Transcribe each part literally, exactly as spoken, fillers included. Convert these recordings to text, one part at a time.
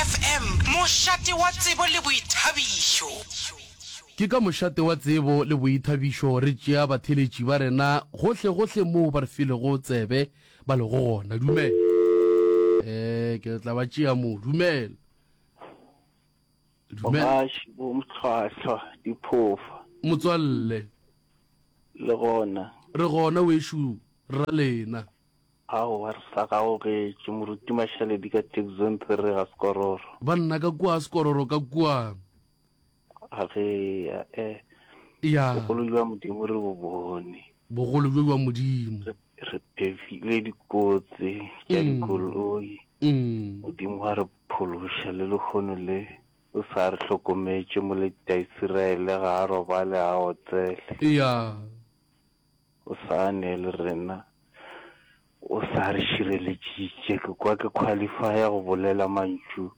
F M, mošate wa tsebo le boithabišo. Ke ka mošate wa tsebo le boithabišo re tšea batheeletši ba rena gohle-gohle moo ba re filego tsebe ba lego gona. Dumela. Eh, ke tla ba tšea moo. Dumela. Dumela. Bogaši bo mohlwahlwa diphofa. Motswalle. Le gona. Re gona wešo ra lena. Aowa re sa gaogetše Moruti Mašaledi ka Taxzone three ga Sekororo. Banna ka kua Sekororo ka kua. A ge a e. Ya. Bogolo bja Modimo re bo bone. Bogolo bjo bja Modimo. Re, re phefile dikotsi tša dikoloi. Modimo wa re phološa le lehono le o sa re hlokometše moleti a Isiraele ga a robale a otsele. Ya. O sa ne le rena. O sa re šireletšitše. Ke kwa ke qualifya go bolela mantšu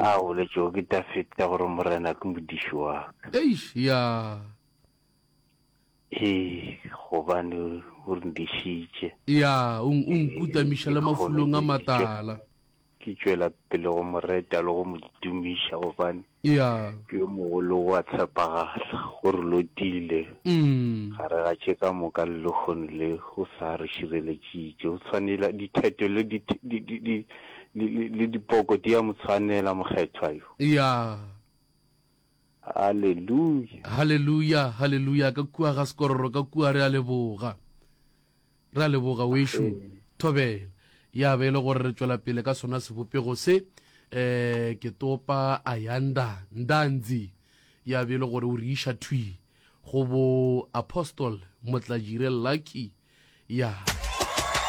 a a boletšego ke Dafida gore Morena ke modiši wa ka. Eish, ya. Ee, gobane o re ndišitše. Ya, o, o nkutamiša le mafulong a matala. Ke tšwela pele go mo reta le go mo tumiša gobane Ya. ke yo mogolo o a tshepagala, o re lotile. Mm. Gare ga tše ka moka le lehono le o sa re šireletšitše. O tshwanela ditheto le di, di, di, di, le, le, le dipoko di a mo tshwanela mokgethwa yo. Ya. Haleluya. Haleluya, haleluya, ka kua ga Sekororo ka kua re a leboga. Re a leboga wešo. Thobela. Ya be e le gore re tšwela pele ka sona sebopego se. Eh, ke topa Ayanda Ndanzi. Ya be e le gore o re iša thwi go bo Apostle Motlajire Lucky. Ya.